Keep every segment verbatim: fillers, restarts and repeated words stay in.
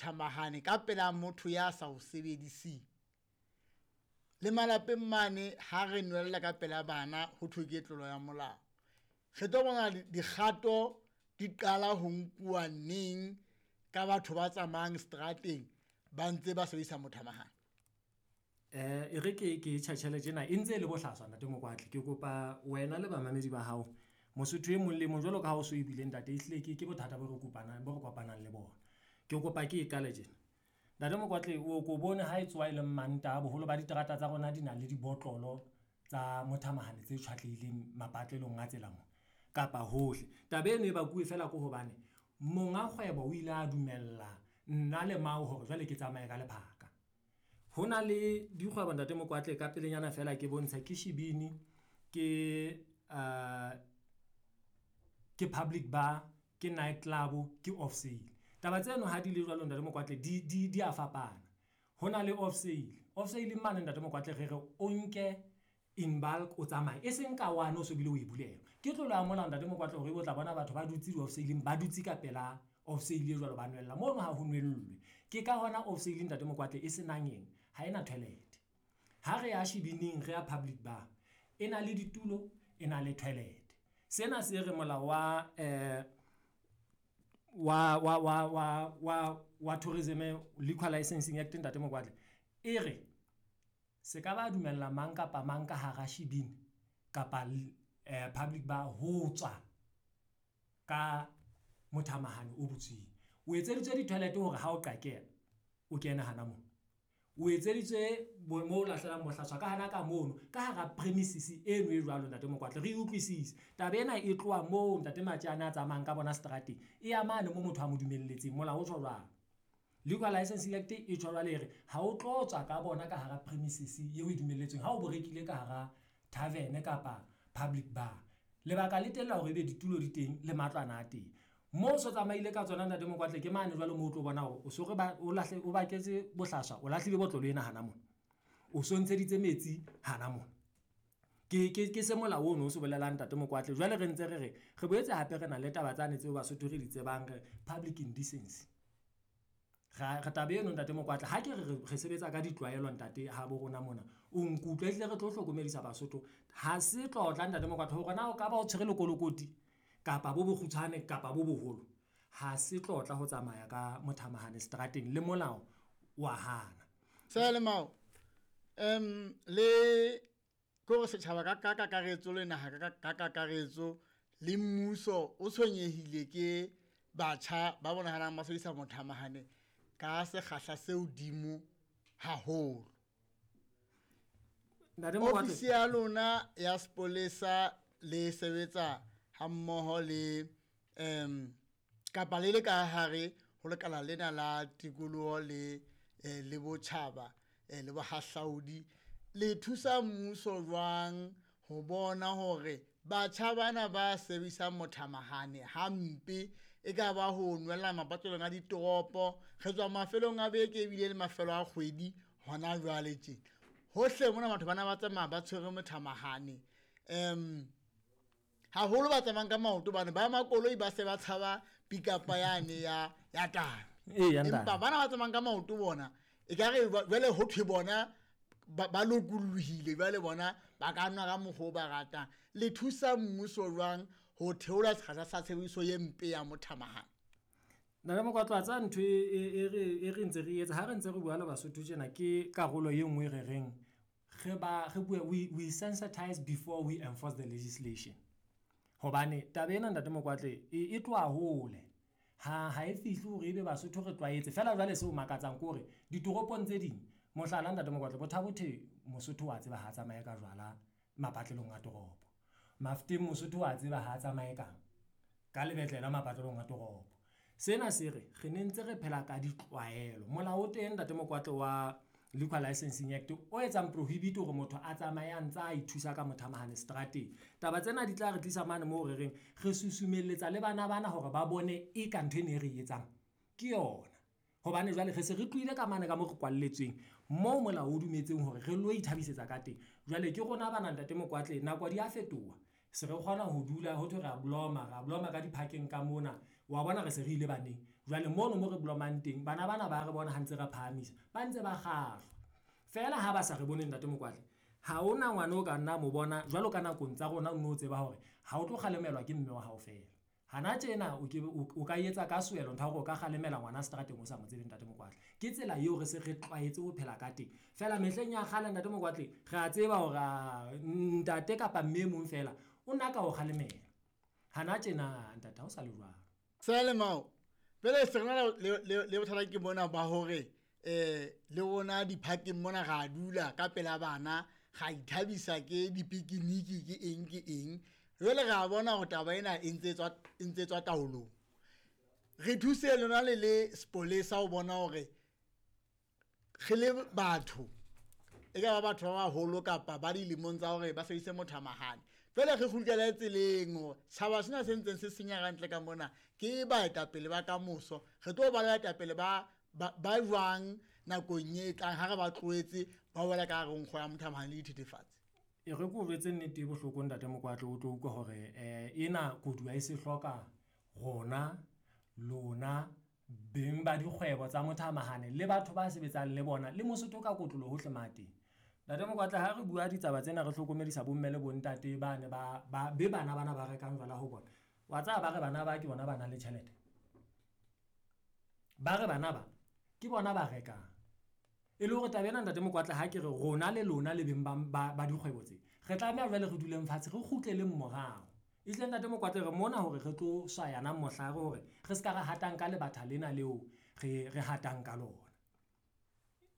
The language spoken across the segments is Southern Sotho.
Thamahane ka pela motho ya sa o sebediseng. Le malapeng mane ha re nwella ka pela bana ho thwe ke tlolo ya molao. Re tlo bona dikgato di qala ho nkuwa neng ka batho ba tsamayang seterateng ba ntse ba sebedisa mothamahane? Eh e re ke ke tjhatjhele tjena e ntse e le bohlaswa Ntate Mokoatle. Ke kopa wena le bamamedi ba hao, Mosotho e mong le mong jwalo ka ha o so e buile ntate ehlile ke ke bothata bo re kopanang bo re kopanang le bona. Ke kopa ke e qale tjena. Ntate Mokoatle o ko bone ha e tsoha e le Mantaha, boholo ba diterata tsa rona di na le dibotlolo tsa mothamahane tse tjhwatlehileng mapatlelong a tsela mona kapa hohle. Taba eno e bakuwe feela ke hobane monga kgwebo o ile a dumella nna le mao hore jwale ke tsamaye ka lephaka. Ho na le dikgwebo Ntate Mokoatle ka pelenyana feela ke bontshe ke shebini, ke ke public bar, ke night club, ke off sale. Taba tseno ha di le jwalo Ntate Mokoatle di di di a fapana. Ho na le off sale. Off sale mane Ntate Mokoatle re re o nke in bulk o tsamaye, e seng ka one o so bile o e bulelwa. Ke tlolo ya molao Ntate Mokoatle hore ebe o tla bona batho ba dutse di-off sale-ing ba dutse ka pela off sale e jwalo ba nwella. Mono ha ho nwellwe. Ke ka hona off sale Ntate Mokoatle e senang eng, ha ena toilet. Ha re ya shebining re ya public bar, e na le ditulo, e na le toilet. Sena se re molao wa wa wa wa wa wa wa Tourism Liquor Licensing Act Ntate Mokoatle e re se ka ba dumella mang kapa mang ka hara shebeen kapa public bar ho tswa ka mothamahane o butsweng. O etseditswe di-toilet hore ha o qakehela o kene hana moo. O etseditswe mo o lahlelang bohlaswa ka hana ka mono ka hara premises eno e jwalo Ntate Mokoatle re utlwisise. Taba ena e tloha moo Ntate Matjana a tsamayang ka bona seterateng e ya mane moo motho a mo dumelletseng. Molao o tjho jwalo. Liquor Licensing Act e tjho jwale e re ha o tlo tswa ka bona ka hara premises eo e dumelletsweng ha o bo rekile ka hara tarven kapa public bar. Lebaka le teng la hore ebe ditulo di teng le matlwana a teng. Moo o so tsamaile ka tsona Ntate Mokoatle ke mane jwale moo o tlo bona hore o so re ba o lahle o baketse bohlaswa, o lahlile botlolo ena hana mona. O so ntsheditse metsi hana mona. Ke ke ke se molao ono o se bolelang Ntate Mokoatle. Jwale re ntse re re re boetse hape re na le taba tsane tseo Basotho re di tsebang re public indecency. Ra re taba eno Ntate Mokoatle ha ke re re sebetsa ka ditlwaelo ntate ha bo rona mona. O nkutlwe ehlile re tlo hlokomedisa Basotho. Ha se tlotla Ntate Mokoatle hore na o ka ba o tshwere lekolokoti kapa bo bokgutshwane kapa bo boholo. Ha se tlotla ho tsamaya ka mothamahane seterateng le molao wa hana. Seyalemoya um le ko setjhaba ka ka kakaretso le naha ka ka kakaretso le mmuso o tshwenyehile ke batjha ba bonahalang ba sebedisa mothamahane ka sekgahla se hodimo haholo. Ntate Mokoatle. Ofisi ya lona ya sepolesa le sebetsa hammoho le um kapa le le ka hare ho lekala lena la tikoloho le eh, le botjhaba eh, le bohahlaudi le thusa mmuso jwang ho bona hore batjha bana ba sebedisang mothamahane hampe e ka ba ho nwella mapatlelong a ditoropo, re tswa mafelong a beke ebile le mafelo a kgwedi hona jwale tje. Hohle mona batho bana ba tsamaya ba tshwere mothamahane. Um haholo ba tsamayang ka maoto bane ba makoloi ba se ba tshaba pick-up yane ya ya tana. Ee, ya Empa bana ba tsamayang ka maoto bona ekare jwale ho thwe bona ba ba lokolohile jwale bona ba ka nwa ka mokgwa o ba ratang. Le thusa mmuso jwang ho theola sekgahla sa tshebediso e mpe ya mothamahane? Ntate Mokoatle wa tseba ntho e e re e re ntse re etsa ha re ntse re bua le Basotho tjena ke karolo e nngwe re reng re ba re bue we we sensitize before we enforce the legislation. Hobane taba ena Ntate Mokoatle e e tloha hole. Ha ha e fihle hore ebe Basotho re tlwaetse feela jwale seo makatsang ke hore ditoropong tse ding mohlala Ntate Mokoatle Botha-Bothe Mosotho wa tseba ha tsamaye ka jwala mapatlelong a toropo. Mafeteng Mosotho wa tseba ha tsamaye kang ka lebetlela mapatlelong a toropo. Sena se re re ne ntse re phela ka ditlwaelo. Molao o teng Ntate Mokoatle wa Liquor Licensing Act o etsang prohibit hore motho a tsamaye a ntsa a ithusa ka mothamahane seterateng. Taba tsena di tla re tlisa mane moo re reng re susumelletsa le bana bana hore ba bone e ka ntho ena e re etsang ke yona. Hobane jwale re se re tlohile ka mane ka mo re kwalletsweng moo molao o dumetseng hore re lo ithabisetsa ka teng. Jwale ke rona bana Ntate Mokoatle nako di a fetoha. Se re kgona ho dula ho thwe re a bloma, re a bloma ka di-park-eng ka mona. Wa bona re se re ile baneng. Jwale mono mo re blomang teng, bana bana ba re bona ha ntse re phahamisa, ba ntse ba kgahlwa. Feela ha ba sa re bone ntate Mokoatle, ha hona ngwana o ka nna mo bona jwalo ka nakong tsa rona o no tseba hore ha o tlo kgalemelwa ke mme wa hao feela. Hana tjena o ke o ka etsa ka sewelo ntho ya hore o ka kgalemela ngwana seterateng o sa mo tsebe ntate Mokoatle. Ke tsela eo re se re tlwaetse ho phela ka teng. Feela mehleng ya kgale ntate Mokoatle, re a tseba hore ntate kapa mme e mong feela o na ka o kgalemela. Hana tjena ntate ha o sa le jwalo. Seyalemoya jwale se re na le le bothata ke mona ba hore eh le rona di-park-eng mona ra dula ka pela bana, ra ithabisa ke dipikiniki ke eng ke eng. Jwale re a bona hore taba ena e ntse tswa e ntse tswa taolong. Re thuse lona le le sepolesa ho bona hore re le batho e ka ba batho ba baholo kapa ba dilemong tsa hore ba sebedise mothamahane. Jwale re kgutlele tseleng hore setjhaba sena se ntseng se senya ka ntle ka mona ke baetapele ba kamoso. Re tlo ba le baetapele ba ba jwang nakong e tlang ha re ba tlohetse ba wela ka hare ho nkgo ya mothamahane le dithethefatsi. E re ke o jwetse nnete e bohloko ntate Mokoatle o tlo utlwa hore ena koduwa e se hloka rona, lona, beng ba dikgwebo tsa mothamahane le batho ba sebetsang le bona le Mosotho ka kotloloho hohle mo a teng. Ntate Mokoatle ha re bua ditaba tsena re hlokomedisa bo mme le bo ntate ba ne ba ba be bana bana ba rekang jwala ho bona. Wa tseba ba re bana ba ke bona ba nang le tjhelete. Ba re bana ba ke bona ba rekang. E le hore taba ena ntate Mokoatle ha ke re rona le lona le beng ba ba dikgwebo tse, re tlameha jwale re duleng fatshe re kgutleleng morao. Ehlile ntate Mokoatle re mona hore re tlo swayana mohlare hore re ska ra hatang ka lebatha lena leo re re hatang ka lona.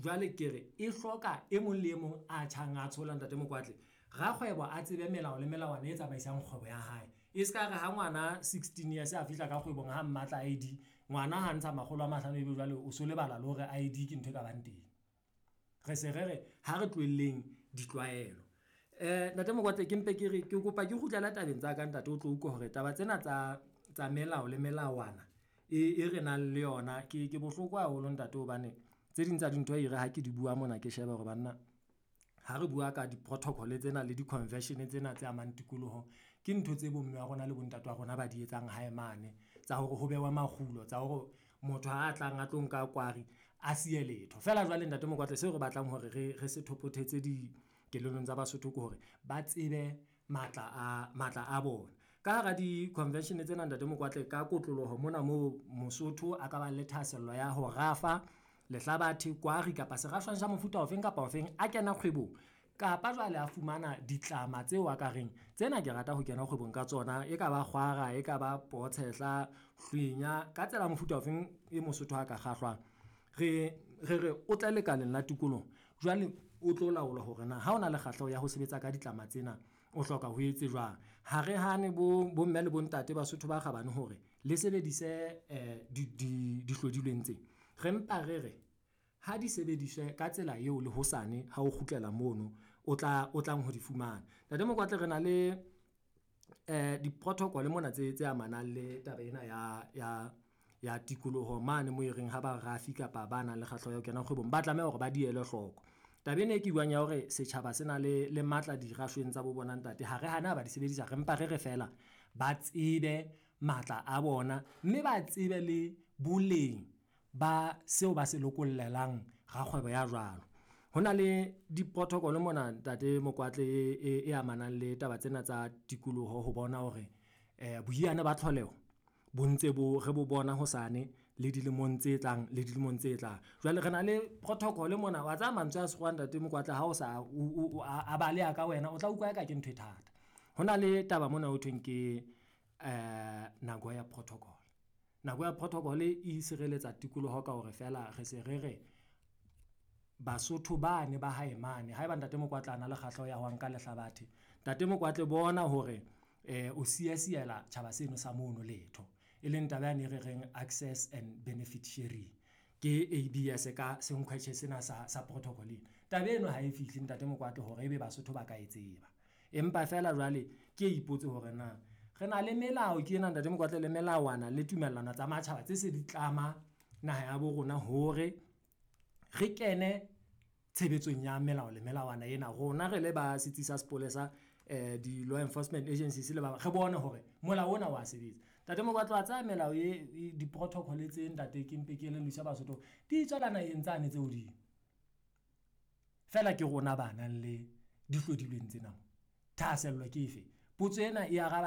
Jwale ke re e hloka e mong le e mong a tjhang a tshola ntate Mokoatle. Rakgwebo a tsebe melao le melawana e tsamaisang kgwebo ya hae. E ska re ha ngwana sixteen years a fihla ka kgwebong ha mmatla I D, ngwana ha ntsha makgolo a mahlano ebe jwale o so lebala le hore I D ke ntho e ka bang teng. Re se re re ha re tlohelleng ditlwaelo. Eh ntate Mokoatle ke mpe ke re ke kopa ke kgutlele tabeng tsa ka ntate o tlo utlwa hore taba tsena tsa tsa melao le melawana e e re nang le yona ke ke bohloko haholo ntate hobane tse ding tsa dintho e re ha ke di bua mona ke shebe hore banna ha re bua ka di-protocol tsena le di-convention tsena tse amang tikoloho, ke ntho tse bomme wa rona le bontate wa rona ba di etsang hae mane tsa hore ho behwe makgulo, tsa hore motho ha tlang a tlo nka kwari a siye letho. Feela jwale ntate Mokoatle seo re batlang hore re re se thopothetse dikelellong tsa Basotho ke hore ba tsebe matla a matla a bona. Ka hara di-convention tsena ntate Mokoatle ka kotloloho mona moo Mosotho a ka bang le thahasello ya ho rafa lehlabathe, kwari kapa serafshwang sa mofuta ofeng kapa ofeng a kena kgwebong. Kapa jwale a fumana ditlama tseo a ka reng tsena ke rata ho kena kgwebong ka tsona, e ka ba kgwara, e ka ba potshehla, hlwenya, ka tsela mofuta ofeng e Mosotho a ka kgahlwang. Re re re o tle lekaleng la tikoloho, jwale o tlo laola hore na ha o na le kgahleho ya ho sebetsa ka ditlama tsena o hloka ho etse jwang. Ha re hane bo bo mme le bontate Basotho ba kgabane hore le sebedise di di dihlodilweng tse. Re mpa re re ha di sebediswe ka tsela eo le hosane ha o kgutlela mono o tla o tlang ho di fumana. Ntate Mokoatle re na le eh di-protocol mona tse tse amanang le taba ena ya ya ya tikoloho mane mo e reng ha ba rafi kapa ba nang le kgahleho ya ho kena kgwebong ba tlameha hore ba di ele hloko. Taba ena e ke buang ya hore setjhaba se na le le matla dirashweng tsa bo bona ntate, ha re hane ha ba di sebedisa, re mpa re re feela ba tsebe matla a bona, mme ba tsebe le boleng ba seo ba se lokollelang rakgwebo ya jwalo. Ho na le di-protocol mona ntate Mokoatle e e amanang le taba tsena tsa tikoloho ho bona hore eh boiyane ba tlholeho bo ntse bo re bo bona hosane le dilemong tse tlang le dilemong tse tlang. Jwale re na le protocol mona wa tseba mantswe a sekgowa ntate Mokoatle ha o sa o a baleha ka wena o tla utlwa eka ke ntho e thata. Ho na le taba mona ho thweng ke eh Nagoya Protocol. Nagoya Protocol e sireletsa tikoloho ka hore feela re se re re Basotho bane ba hae mane haeba ntate Mokoatle a na le kgahleho ya ho nka lehlabathe, ntate Mokoatle bona hore eh o siya siela tjhaba seno sa mono letho. E leng taba yane e re reng access and benefit sharing. Ke A B S ka senkhwetjhe sena sa sa protocol ena. Taba eno ha e fihle ntate Mokoatle hore ebe Basotho ba ka e tseba. Empa feela jwale ke ipotse hore na re na le melao ke ena ntate Mokoatle le melawana le tumellano tsa matjhaba tse se di tlama naha ya bo rona hore re kene tshebetsong ya melao le melawana ena. Rona re le ba setsi sa sepolesa eh di-law enforcement agencies le ba re bone hore molao ona wa sebetsa. Ntate Mokwatlo, wa tsaya melao e e- di-protocol tse, ntate, ke mpe ke elellwisa Basotho, di tswela naheng tsane tse hodimo. Feela ke rona ba nang le dihlodilweng tsena mo. Thahasello ke efe? Potso ena e araba.